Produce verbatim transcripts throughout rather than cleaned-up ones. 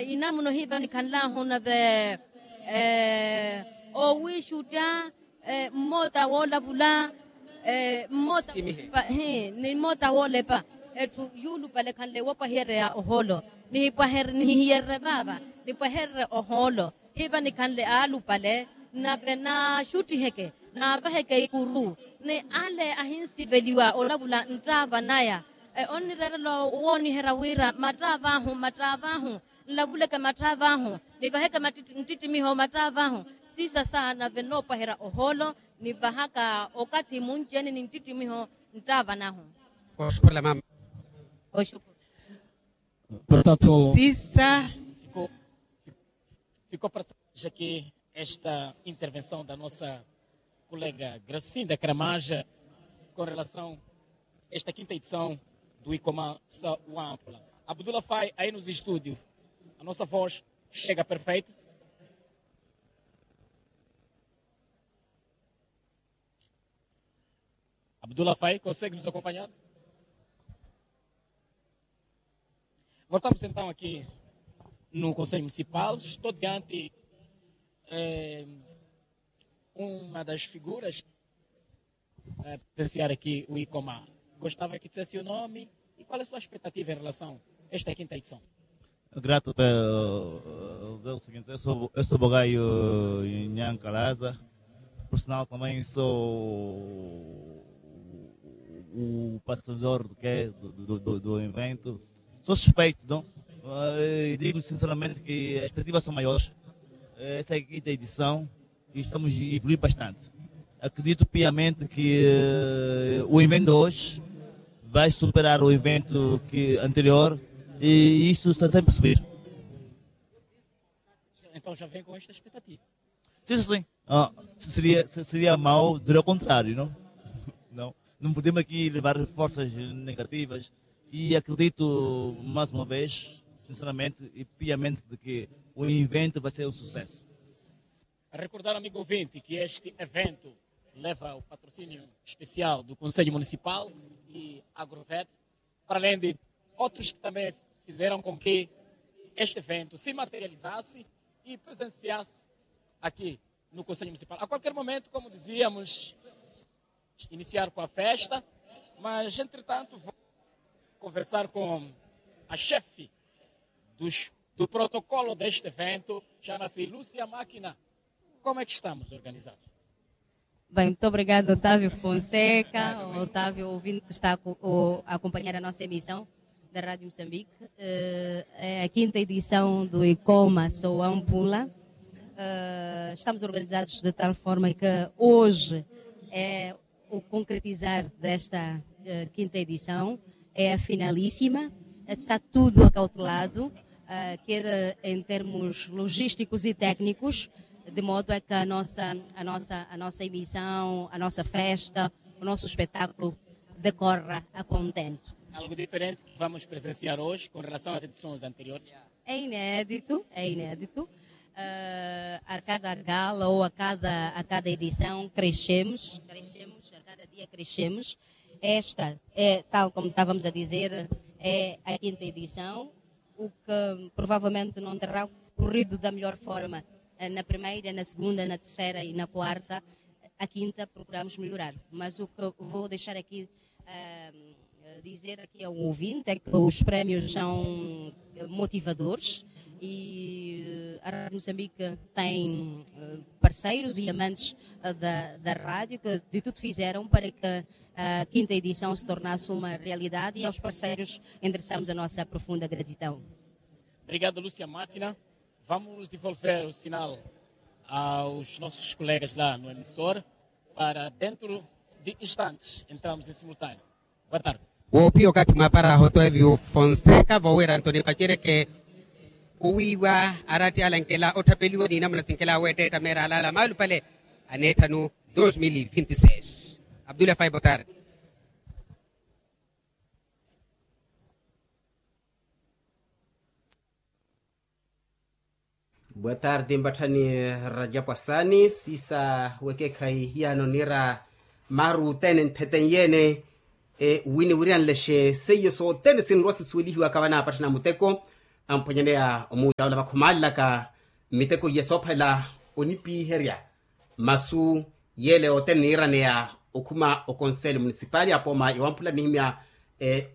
Inamuno hiva nikhanlahu nave owiixutta, mmoota woolavula, mmoota ni mmoota woolepa. Etthu yuulupale khanle wopwahiyereya ohoolo. Nihipwahere nihihiyerere vaava, nipwahererye ohoolo. Hiva nikhanle aalupale, nave naaxuttiheke, naavaheke ikuru. Ni ale ahinsiveliwa olavula nttaava naya, onnireerela wooniherya wira mmattaava ahu mmattaava ahu. Nlavuleke mmattaava ahu, nivaheke nttittimiho mmattaava ahu. Siisa saa nave nnoopwaherya ohoolo, nivahaka okathi munci-ene ni nttittimiho nttaava nahu. Oxukhurela mama. Oxukhurela. Portanto, siisa. Ficou para trás aqui esta intervenção da nossa colega Gracinda Cramaja com relação a esta quinta edição do Icoma Sawampula. Abdullah Fai, aí nos estúdios, a nossa voz chega perfeita? Abdullah Fai, consegue nos acompanhar? Voltamos então aqui no Conselho Municipal. Estou diante uma das figuras a presenciar aqui o Icoma. Gostava que dissesse o nome e qual é a sua expectativa em relação a esta quinta edição. Grato pelo, eh, o seguinte, eu sou, eu sou Bogaio Nhankalaza, por sinal também sou o patrocinador do, que, do, do, do, do evento. Sou suspeito, não? Eh, digo sinceramente que as expectativas são maiores. Essa é a quinta edição. E estamos a evoluir bastante. Acredito piamente que, eh, o evento de hoje vai superar o evento que, anterior, e isso está sempre a subir. Então já vem com esta expectativa. Sim, sim, sim. Ah, se seria, se seria mau dizer ao contrário, não? Não. Não podemos aqui levar forças negativas e acredito, mais uma vez, sinceramente e piamente, de que o evento vai ser um sucesso. Recordar, amigo ouvinte, que este evento leva o patrocínio especial do Conselho Municipal e Agrovet, para além de outros que também fizeram com que este evento se materializasse e presenciasse aqui no Conselho Municipal. A qualquer momento, como dizíamos, iniciar com a festa, mas, entretanto, vou conversar com a chefe dos, do protocolo deste evento, chama-se Lúcia Máquina. Como é que estamos organizados? Bem, muito obrigado, Otávio Fonseca, Otávio, ouvinte que está a co-, o, a acompanhar a nossa emissão da Rádio Moçambique. Eh, é a quinta edição do Icoma Soampula. Eh, estamos organizados de tal forma que hoje é o concretizar desta, eh, quinta edição, é a finalíssima, está tudo acautelado, eh, quer, eh, em termos logísticos e técnicos, de modo a que a nossa, a nossa, a nossa emissão, a nossa festa, o nosso espetáculo decorra a contento. Algo diferente que vamos presenciar hoje com relação às edições anteriores? É inédito, é inédito. Ah, a cada gala ou a cada, a cada edição crescemos, crescemos, a cada dia crescemos. Esta é, tal como estávamos a dizer, é a quinta edição, o que provavelmente não terá corrido da melhor forma, eh, na primeira, na segunda, na terceira e na quarta. A quinta procuramos melhorar. Mas o que vou deixar aqui, eh, dizer aqui ao ouvinte é que os prémios são, eh, motivadores e, eh, a Rádio Moçambique tem, eh, parceiros e amantes, eh, da, da rádio que de tudo fizeram para que a quinta edição se tornasse uma realidade e aos parceiros endereçamos a nossa profunda gratidão. Obrigado, Lúcia Máquina. Vamos devolver o sinal aos nossos colegas lá no emissor, para dentro de instantes entramos em simultâneo. Boa tarde. Woopiya okathi mwaaparaha otoevi ofonseca vowira antoni pacereke owiiwa arathi ala nkela otthapeliwa ni namuna sinkela weettetta meera alaala maalupale aneethanu. Dos mil e vinte e seis. Abdullah fai boa tarde. Boa tarde mpatthani. Rajapu asani siisa wekeekhayi hiyano niira maaru othene ntheten yeene. Wini wiriyanlexe seiyo sothene sinrwa sisuwelihiwaka vanaapatthana muteko. amphwanyaneya omuuttawula vakhumalelaka miteko iye soophalela onipiherya masu yele othene niiraneya okhuma okonseli munisipali apooma ya wamphula nihimya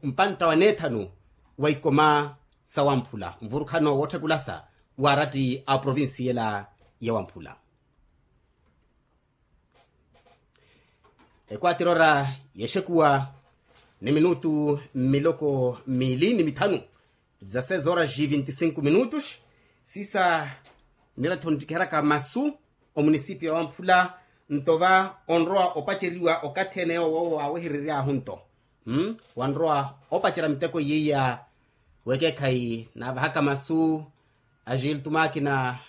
mpantta wa neethanu wa ikoma sa wamphula mvurukhano wootthekulasa wa aratti a provinsi yela ya wamphula. Ekwatirora yexekuwa ni minutu mmiloko miili ni mithanu za seis horas e vinte e cinco minutos. Siisa nirattho nttikiheryaka masu omunisipiyo wa wamphula nto va onrowa opaceriwa okathi ene yoowo waaweherery'ahu nto wanrowa opacerya miteko iyiya. Wekeekhayi naavahaka masu a gilto makina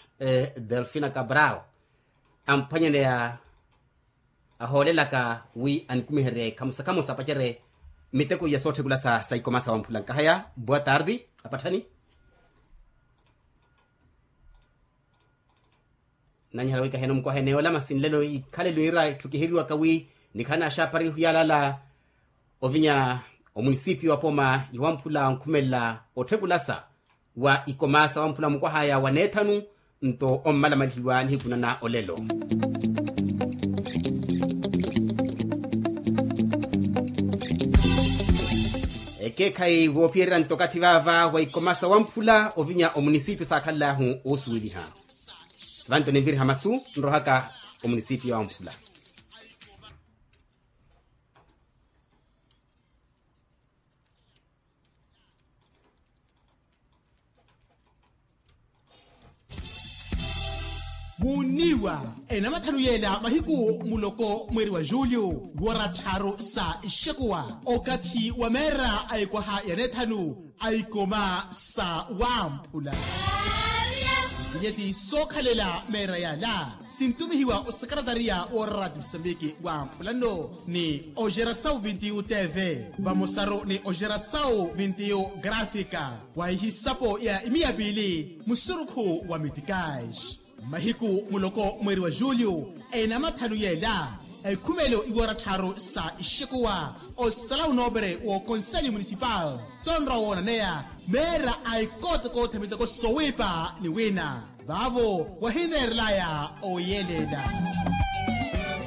delfina cabral amphwanyaneya ahoolelaka wi anikumiherye khamusa khamusa apacerye miteko iya sootthekula sa ikoma sa wamphula nkahaya boa tarde apatthani. Nanyihala wi kaheno mukwaha ene yoola masi nlelo ikhalelo ira etthukiheriwaka wi nikhala naaxaapari hiyalala ovinya omunisipiyo wa pooma ya wamphula onkhumelela ottthekulasa wa ikoma sa wamphula mukwahaya wa neethanu nto ommalamalihiwa nihiku nana olelo. Ekeekhayi woophiyererya nto okathi vaava wa ikoma sa wamphula ovinya omunisipiyo saakhalel'ahu oosuweliha. Vanto ninviriha masu nrohaka omunisipiyo wa wamphula. Muunniiwa enamathanu yeela mahiku muloko mweeri wa julio woora tthaaru sa ixekuwa okathi wa meera a ikwaha ya neethanu a ikoma sa wamphula. Vinyeti sookhalela meera yaala sintumihiwa osekaratariya woora rati musambiki wamphula nno ni oxerasawu vintiyu tv vamosaru ni oxerasawu vintiyu grafika wa ihisapo ya imiya piili musurukhu wa mitikaxi. Mahiku muloko mweeri wa julio enamathanu yeela ekhumelo iwoora tthaaru sa ixekuwa osala unoopere w'okonseli munisipal tonrowa woonaneya meera a ikootoko tha miteko sowiipa ni wina vaavo wahinreerelaya oyeleela.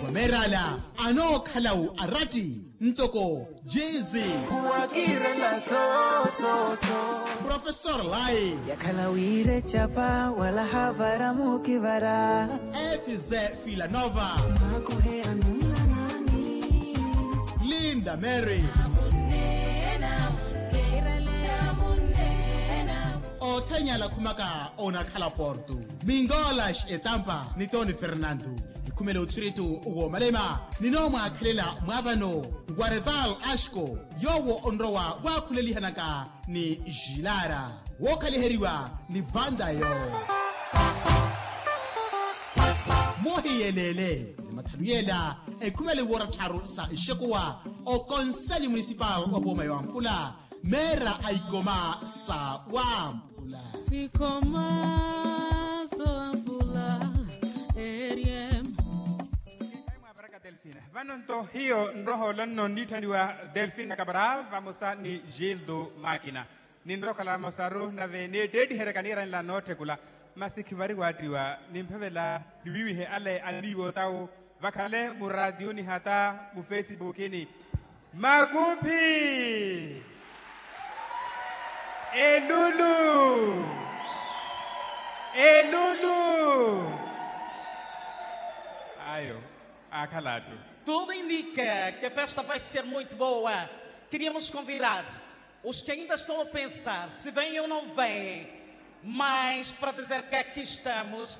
Wa meer'ala anookhala-u aratti ntoko jezi profesor lai yakhala wiire ecapa wala havara muukivara efise filanova makuhe anunla nani linda mary othenya alakhumaka onakhala porto mingolas etampa ni toni fernando. Ekhumela otthiritu woomalema ninoomwaakhelela mwaavano wareval ashko yoowo onrowa waakhulelihanaka ni jilara wookhaliheriwa ni bandayo. Muhiyelele ni mathanu yeela ekhumela iwoora tthaaru sa ixekuwa okonseli munisipal wa pooma ya wamphula meera a ikoma sa wamphula. Ikoma sa wamphula. Eryem. Vano nto hiyo nrohoolo nno nniitthaniwa delfina cabral vamosa ni gildo makina. Ninrookhala mosaru nave neetteettiheryaka niiranela nootthekula masi khivari waattiwa nimphavela niwiiwihe ale anniiwa otawu vakhale muraatiyuni hata mufesipukini. Makuphi. Elulu. Elulu. Ayo. Aakhala atthu. Tudo indica que a festa vai ser muito boa. Queríamos convidar os que ainda estão a pensar se vêm ou não vêm, mas para dizer que aqui estamos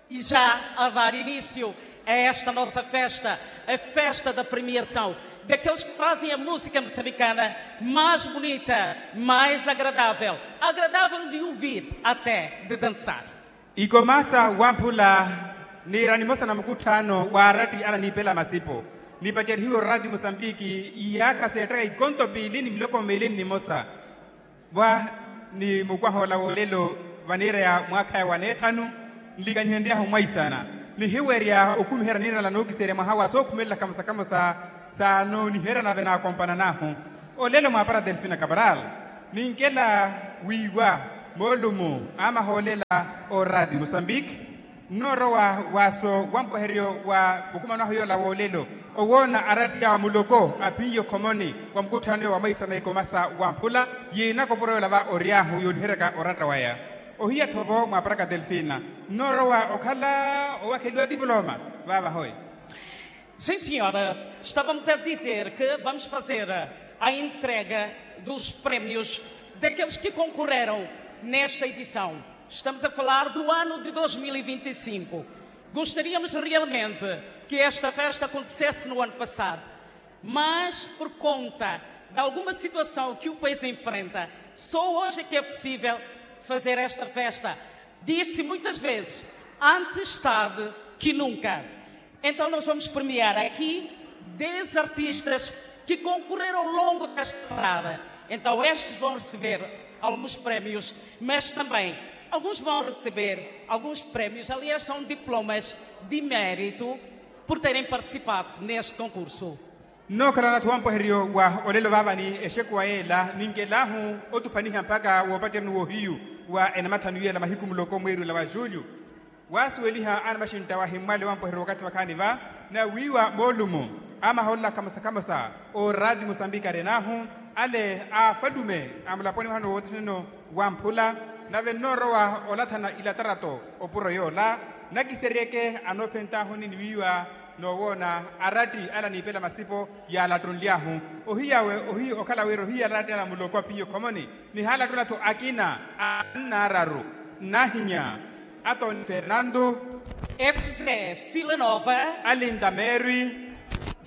e já a dar início a esta nossa festa, a festa da premiação daqueles que fazem a música moçambicana mais bonita, mais agradável, agradável de ouvir, até de dançar. Ikoma sa wamphula niira nimosa na mukutthaano wa aratti ananiipela masipo nipacerihiwe orati musambiki iyaakha seettaka ikonto piili ni miloko miili nnimosa. Wa ni mukwahoola wolelo vaniira ya mwaakhaya wa neethanu nlikanyihenry'ahu mwaisana nihiwerya okhumiherya niirala nookiserya mwaha wa sookhumelela khamosa khamosa sa nooniherya nave naakompanan'ahu. Olelo mwaapara delfina cabral ninkela wiiwa Moolumu amahoolela, oraati musambiki nnoorowa waaso wa mpweheryo wa mukumano ahu yoola woolelo, owoona araati awo muloko aphiye okhomoni wa mukutthano wa mwaisa na ikomasa wa mphula yiinaka opuro yoola va ory'ahu yooniheryaka oratta waya. Ohiya-tho vo mwaparaka delfina nnoorowa okhala owakheliwa tipuloma vaavahoyi. Sim senhora, estávamos a dizer que vamos fazer a entrega dos prémios daqueles que concorreram nesta edição. Estamos a falar do ano de dois mil e vinte e cinco. Gostaríamos realmente que esta festa acontecesse no ano passado, mas por conta de alguma situação que o país enfrenta, só hoje é que é possível fazer esta festa. Disse muitas vezes, antes tarde que nunca. Então nós vamos premiar aqui dez artistas que concorreram ao longo desta parada. Então estes vão receber alguns prémios, mas também alguns vão receber alguns prémios, aliás são diplomas de mérito por terem participado neste concurso. Nnookhalana-tho wampweheryo wa olelo vaavani exekuwa yeela ninkel'ahu otuphaniha mpakha woopacerya-ni w'ohiyu wa enamathanu yeela mahiku muloko mweeri ola wa julho. Waasuweliha anamaxintta wahimmwale wampweheryo wakathi vakhaani va na wiiwa moolumo amahoolela khamosa khamosa oraati musambiki aren'ahu ale a afalume a mulaponi wahano wootthuneno wa mphula. Nave nnoorowa olathana ilatarato opuro yoola nakiseryeke anoophent'ahuni ni wiiwa noowoona araati ale aniipela masipo yaalattunly'ahu ohiyawe ohiya okhala wira ohiya araati ale a muloko aphiye okhomoni nihaalattulatho akina a annaararu nnahinya atoni fernanto efze filanova alinda mary